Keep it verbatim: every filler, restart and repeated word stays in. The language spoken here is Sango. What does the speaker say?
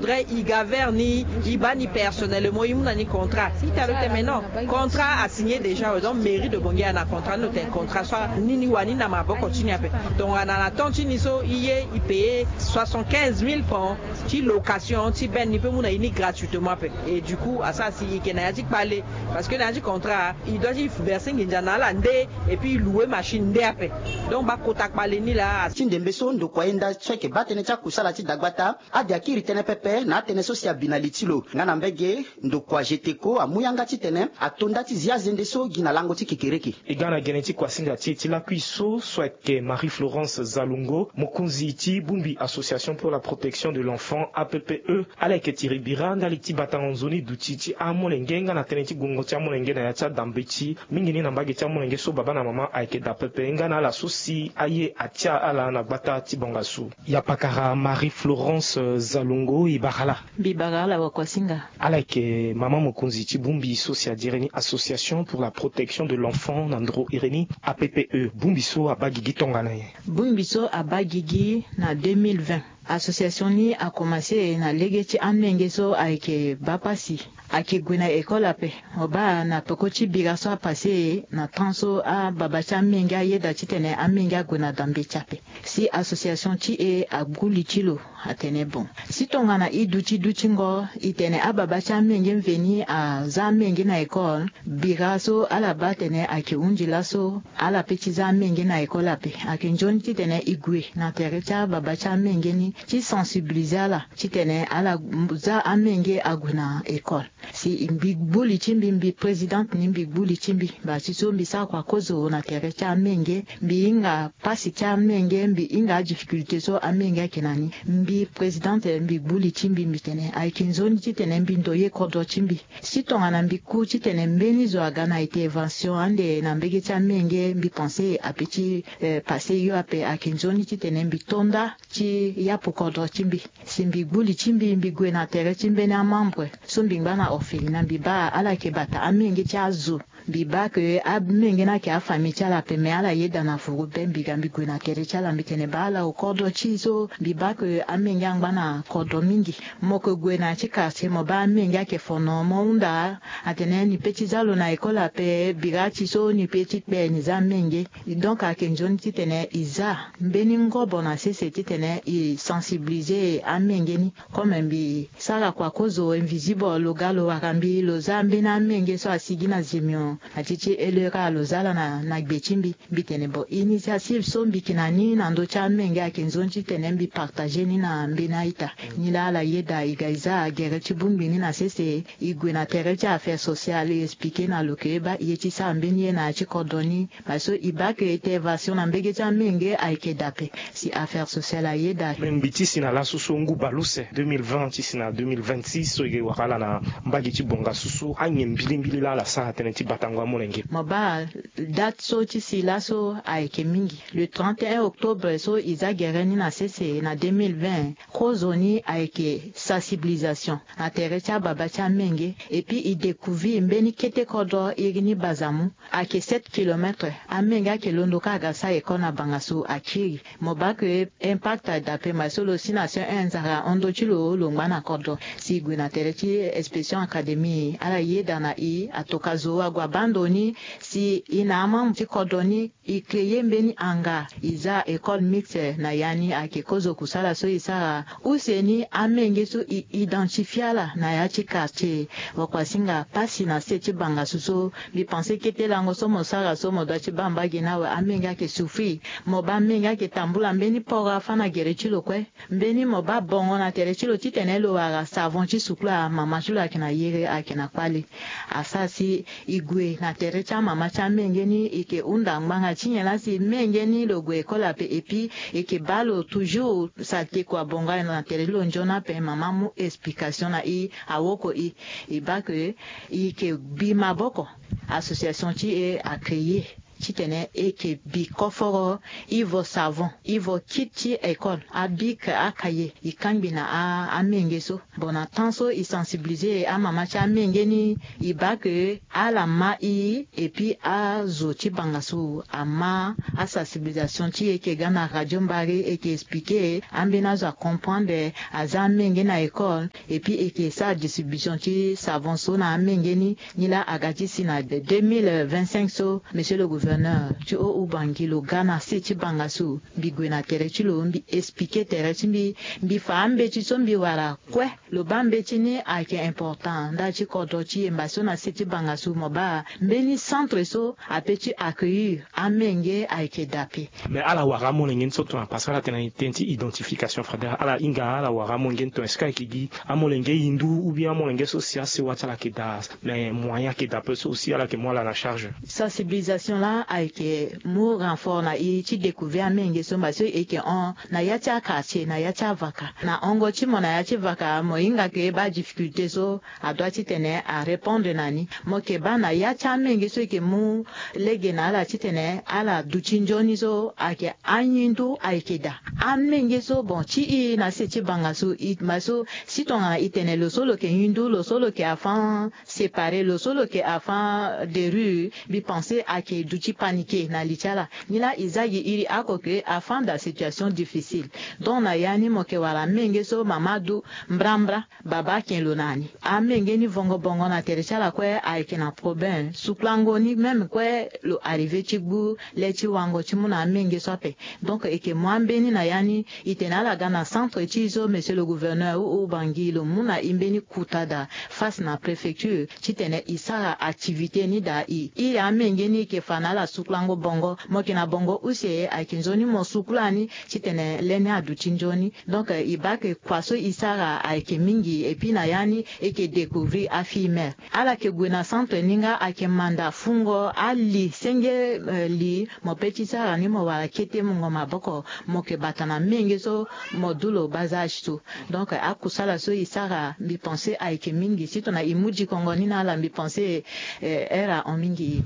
Vrai, i ga vert ni, i baa ni personnellement, i mu na ni contrat. I tene lo tene mais non, contrat asigné déjà. Donc mairie de Bangui ayeke na contrat ni, lo tene contrat so anini wani na maboko ti ni ape. Tongana na temps ti ni so i ye i payer soixante-quinze mille francs ti location ti bene, ni pe mu na i ni gratuitement ape. Et du coup asara si i yeke na ya ti kpale, parce que na ya ti contrat i doit ti verser nginza na ala nde, et puis i louer machine nde ape. Donc bakota kpale ni laa. Ti ndembe so ndokua ye nda so ayeke baa tënë ti akusala ti dagbata, ade akiri tënë pepe na atënë so si abi na li ti lo. Nga na mbege, ndokua Geteko amu yanga titene ato nda ti zi azende so gi na lango ti kekereke. E ga na gene ti kuasinga ti e ti lakui so, so ayeke Marie Florence Zalungo, mokonzi ti bongbi Association pour la Protection de l'Enfant, A P P E. Ala yeke tiri bira ndali ti batango nzoni duti ti amolenge nga na tënë ti gongo ti amolenge na ya ti adambeti mingi ni na mbage ti amolenge so baba na mama ayeke daa pepe nga na ala so si aye atia ala na gbata ti bongasu. Ya pakara Marie Florence Zalongo, e bara laa. Mbi bara ala wakuasinga. Ala yeke mama mokonzi ti bongbi so si adiri ni Association pour la Protection de l'Enfant na ndoro iri ni, A P P E. Bongbi so abaa gigi tongana nyen? Bongbi so abaa gigi na deux mille vingt. Association ni akomanse na lege ti amenge so ayeke baa pasi. Ayeke gue na école ape. Mo baa na peko ti bira so apase na temps so ababa ti amenge ayeda titene amenge ague na dambeti ape. Si association ti e agbu li ti lo, atene bon, si tongana i duti dutingo i tene ababa ti amenge mveni aza amenge na école, bira so ala baa atene ayeke hundi laso ala pe ti za amenge na école ape. Ayeke nzoni titene i gue na tere ti ababa ti amenge ni ti sensibiliser ala titene ala za amenge ague na école. Si mbi gbu li ti mbi, mbi présidente ni, mbi gbu li ti mbi. Baa ti so mbi sara kua kozo na tere ti amenge, mbi hinga pasi ti amenge, mbi hinga adifficulté so amenge ayeke na ni. Mbi présidente, mbi gbu li ti mbi, mbi tene ayeke nzoni titene mbi ndoye kodro ti mbi. Si tongana mbi ku titene mbeni zo aga na intervention ande na mbege ti amenge, mbi pense ape ti eh, pase yo ape. Ayeke nzoni titene mbi to nda ti yapu kodro ti mbi. Si mbi gbu li ti mbi, mbi gue na tere ti mbeni amembre so mbi ngba na orphelina, mbi baa ala yeke bata amenge ti azo. Mbi baa ke amenge ni ayeke afamille ti ala ape, me ala yeda na furu be. Mbi ga mbi gue na tere ti ala, mbi tene baa ala okodro ti e so. Mbi baa ke amenge angba na kodro mingi. Mo yeke gue na ya ti quartier, mo baa amenge ayeke fono, mo hunda atene ni pe ti za lo na école ape, bira ti so ni pe ti kpe ni za amenge. Donc ayeke nzoni titene e za mbeni ngobo na sese titene e sensibiliser amenge ni. Comme mbi sara kua kozo invisible, lo ga lo wara mbi, lo za mbeni amenge so asigi na zimio na ti ti elera, lo za ala na, na gbe ti mbi. Mbi tene bon, initiative so mbi yeke na ni na ndö ti amenge ayeke nzoni titene mbi partager ni na mbeni a-ita. Nilaa ala yeda, e ga e za gere ti bongbi ni na sese, e gue na tere ti affaire sociale, e expliquer na lo ke e baa e ye ti sara mbeni ye na ya ti kodro ni. Parce que e baa ke intervention na mbege ti amenge ayeke daa ape. Si affaire sociale ayeda. Me mbi ti si na laso so ngu baleuse deux mille vingt ti si na deux mille vingt-six so e wara ala na mbage ti bongasu so, anyen mbilimbili laa ala sara tënë ti batango amolenge? Mo baa date so ti si laso ayeke mingi. Le trente et un octobre so e za gere ni na sese na deux mille vingt, kozo ni ayeke sensibilisation na tere ti ababa ti amenge. Et puis e découvrir mbeni kete kodro iri ni Bazamu. Ayeke sept kilomètres. Amenge ayeke londo kâ aga sara école na bangasu, akiri. Mo baa ke impact adaa ape. Ma so lo si na C E un, nzara ahon ndö ti lo, lo ngba na kodro. Si e gue na tere ti inspection académie, ala yeda na e, atoka zo ague abaa ndo ni. Si e na amembre ti kodro ni, e créer mbeni hangar, e za école mixte na ya ni. Ayeke kozo kusala so e sara. Use ni amenge so e identifier ala na ya ti quartier. Wakuasinga, pasi na se ti bangasu so. Mbi pense kete lango so mo sara so, mo doit ti baa mbage ni awe. Amenge ayeke souffrir. Mo baa amenge ayeke tambula mbeni poro afâ na gere ti lo kue. Mbeni mo baa bongo na tere ti lo titene lo wara savon ti sukula. Mama ti lo ayeke na yere, ayeke na kpale. Asara si e gue na tere ti amama ti amenge ni, e yeke hunda ngbanga ti nyen laa si menge ni lo gue école ape. Et puis e yeke baa lo toujours saleté kua bongo na tere ti lo nzoni ape. Mama amu explication na e, awoko e. E baa ke e yeke bi maboko. Association ti e a créer titene e yeke bi koforo, ivo savon, ivo kit ti école, abic, akaye, e kangbi na amenge so. Bon, na temps so e sensibiliser amama ti amenge ni, e baa ke ala ma i. Epui azo ti banga so ama asensibilisation ti e yeke ga na radio mbari, e yeke expliquer ambeni azo acomprendre, aza amenge na école. Epui e yeke sara distribution ti savon so na amenge ni. Nilaa aga ti si na deux mille vingt-cinq so, monsieur le gouverneur ti o ubangi lo ga na se ti banga so. Mbi gue na tere ti lo, mbi expliquer tere ti mbi, mbi fa ambeti so mbi wara kue. Lo baa mbeti ni ayeke important nda ti kodro ti yemba so na se ti banga so. Mo baa mbeni centre so ape ti accueillir amenge ayeke dape. Mais ala wara amolenge ni so tongana parce que ala tene na tene ti identification fraternelle, ala hinga ala wara amolenge ni tongana est-ce que ayeke gi amolenge hindu ou bien amolenge so si asewa ti ala ayeke daa, mais moyen ayeke daa ape so aussi ala yeke mu ala na charge. Sensibilisation laa ayeke mu renfort na e ti découvrir amenge so mba so e yeke hon na ya ti aquartier, na ya ti avaka. Na hongo ti mo na ya ti vaka, mo hinga ke baa difficulté so adoit titene arépondre na ni. Mo yeke baa na ya ti amenge so e yeke mu lege na ala titene ala duti nzoni so ayeke ahindu ayeke daa. Amenge so bon ti e na se ti banga so e ma so, si tongana e tene lo so lo yeke hindu, lo so lo yeke enfant séparé, lo so lo yeke enfant de rue, mbi pense ayeke duti paniqué na li ti ala. Nilaa e za gi iri oko ke enfant dans situation difficile. Donc na ya ni mo yeke wara amenge so mama du mbrambra, baba aken lo na ni. Amenge ni vongo bongo na tere ti ala kue ayeke na problème. Sukulango ni même kue lo arrivé ti gbu le ti wango ti mu na amenge so ape. Donc e yeke mu ambeni na ya ni, e tene ala ga na centre ti e so, monsieur le gouverneur, ou, ou Bangui, lo mu na e mbeni kuta daa face na préfecture titene e sara activité ni daa. E iri amenge ni e yeke fa na ala sukulango bongo. Mo yeke na bongo use, ayeke nzoni mo sukula ni titene le ni aduti nzoni. Donc e baa ke kua so e sara ayeke mingi, et puis na ya ni e yeke découvrir afille mère. Ala yeke gue na centre ni nga ayeke manda fungo ali senge, eh, li mo pe ti sara ni mo wara kete mungo maboko, mo yeke bata na menge so mo du lo bas âge so. Donc akusala so e sara mbi pense ayeke mingi, si tongana e mu dikongo ni na ala mbi pense, eh, heure ahon mingi.